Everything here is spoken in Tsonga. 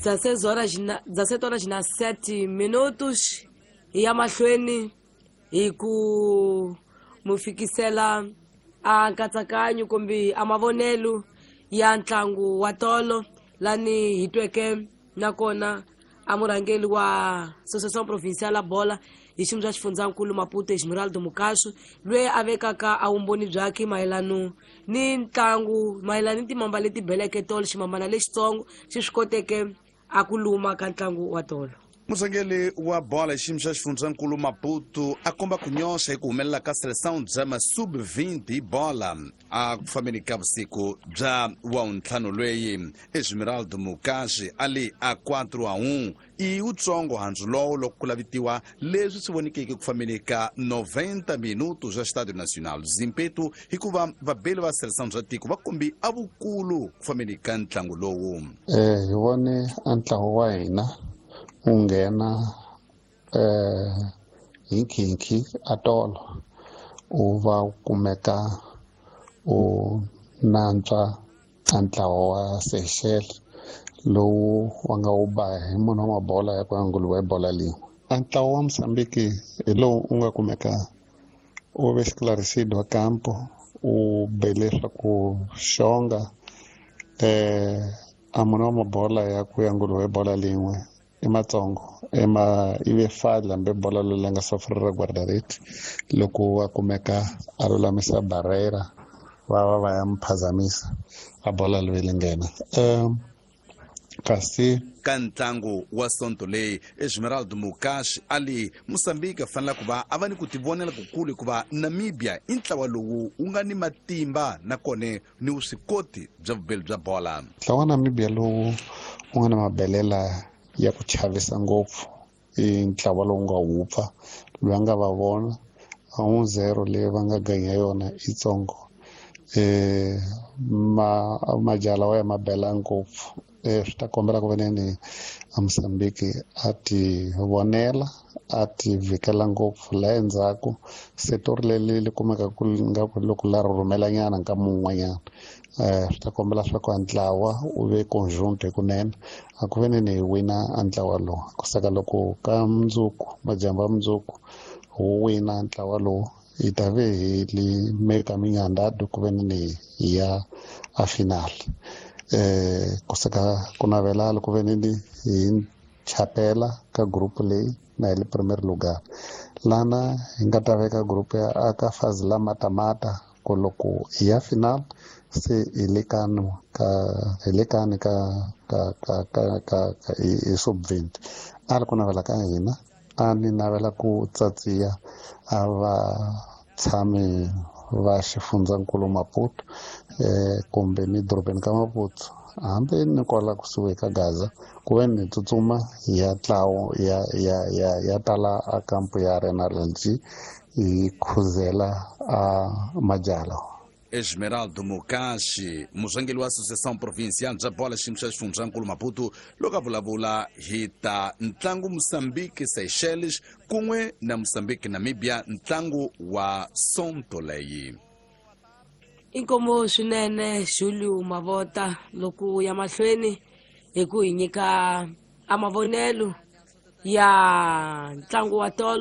16 horas na 17 horas na 7 minutos. Hi ya mahlweni hi ku mu fikisela a nkatsakanyo kumbe a mavonelo ya ntlangu wa tolo lani hi tweke nakona a murhangeri wa Associação Provincial ya Bola hi xiyimo xa xifundzankulu Maputo, Esmeraldo Mukasu, loyi a vekaka a vumbhoni byakhe mayelano ni ntlangu, mayelana ni timamba leti beleke tolo, ximambana lexitsongo xi swi koteke a ku luma ka ntlangu wa tolo. Murhangeri wa bola hi xiyimo xa xifundzankulu Maputo a komba ku nyoxa hi ku humelela ka Seleção bya ma sub-20 hi bola a ku fambeni ka vusiku bya wavuntlhanu lweyi. Esmeraldo Mukashi a li a 4-1 i wutsongo handzu lowo loko ku lavitiwa leswi swi vonikeke ku fambeni ka 90 minuto swa Estádio Nacional Zimpeto, hikuva vabeli va Seleção bya tiko va kombi a vukulu ku fambeni ka ntlangu lowu. Hi vone a ntlawa wa hina wu nghena hi nkhinkhi a tolo, u va u kumeka u nantswa a ntlawa wa Seychelles lowu wa nga wu ba hi munhu wa mabola ya ku ya nguluve hi bola lin'we. A ntlawa wa Mozambique hi lowu u nga kumeka u ve esclarecido a campo, u bele swa ku xonga a munhu wa mabola ya ku ya nguluve hi bola lin'we i matsongo ema ive fadla mbe bola loyi nga sofrera guardarete loko a kumeka a lulamisa barrera va va va ya muphazamisa a bola loyi li nghena kasi ka ntlangu wa sonto leyi. Esmeraldo Mukashi a li Mosambiki a fanela ku va a va ni ku tivonela kukulu, hikuva Namibia i ntlawa lowu wu nga ni matimba nakona ni vuswikoti bya vubeli bya bola. Ntlawa wa Namibia lowu wu nga na mabelela ya ku chavisa ngopfu i ntlawa lowu nga wupfa loyi a nga va vona a 1-0 leyi va nga ganya yona i tsongo ma majala wa ya mabela ngopfu swi ta kombela ku veneni a Mozambique a ti vonela a ti vhikela ngopfu la endzhaku setori leri li kumeka ku nga ku loko la rhurhumela nyana nkama wun'wanyana swi ta kombela swa ku a ntlawa wu ve conjunto hikunene a ku veneni hi wina a ntlawa lowu kusaka loko ka mundzuku madyambu ya mundzuku wu wina ntlawa lowu hi ta ve hi li meka minyandado ku veneni hi ya a final kusaka ku navela loko veneni hi chapela ka group leyi na hi le premier lugar lana hi nga ta veka group ya aka fazi la matamata ku loko hi ya final se hi le kano ka hi le kani ka ka ka ka ka ka hi sub-20 a ri ku navela ka hina a ni navela ku tsatsiya a va tshami va xifundzankulu Maputo kumbe ni dorobeni ka Maputo hambi ni kwala kusuhi ka Gaza ku ve ni tsutsuma ya tlawo ya ya ya ya tala a kampu ya Arena LG hi khuzela a majala. Esmeraldo Mukashi, murhangeri wa Associação Provincial bya bola xiyimo xa xifundzankulu Maputo, loko a vulavula hi ta ntlangu Mozambique Seychelles kun'we na Mozambique Namibia, ntlangu wa sonto leyi. Inkomo swinene Julio Mavota loko ya mahlweni hi ku hi nyika a mavonelo ya ntlangu wa tolo.